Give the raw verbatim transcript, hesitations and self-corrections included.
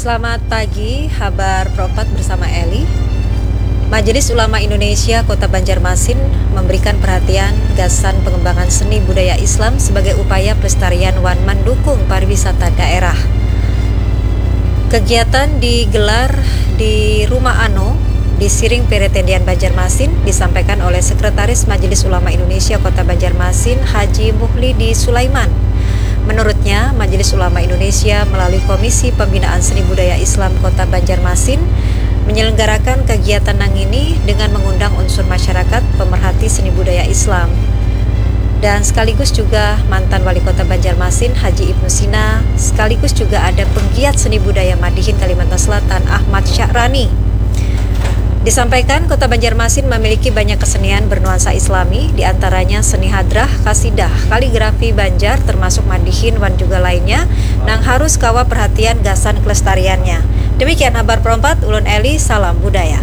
Selamat pagi, habar Pro empat bersama Eli. Majelis Ulama Indonesia Kota Banjarmasin memberikan perhatian gasan pengembangan seni budaya Islam sebagai upaya pelestarian wan mendukung pariwisata daerah. Kegiatan digelar di Rumah Ano di Siring Peretendian Banjarmasin disampaikan oleh Sekretaris Majelis Ulama Indonesia Kota Banjarmasin Haji Muhlidi Sulaiman. Menurutnya, Majelis Ulama Indonesia melalui Komisi Pembinaan Seni Budaya Islam Kota Banjarmasin menyelenggarakan kegiatan nangini dengan mengundang unsur masyarakat pemerhati seni budaya Islam dan sekaligus juga mantan Wali Kota Banjarmasin Haji Ibnu Sina, sekaligus juga ada penggiat seni budaya Madihin Kalimantan Selatan Ahmad Sya'rani. Disampaikan, Kota Banjarmasin memiliki banyak kesenian bernuansa Islami, di antaranya seni hadrah, kasidah, kaligrafi Banjar, termasuk madihin wan juga lainnya, nang harus kawa perhatian gasan kelestariannya. Demikian habar Pro empat, ulun Eli, salam budaya.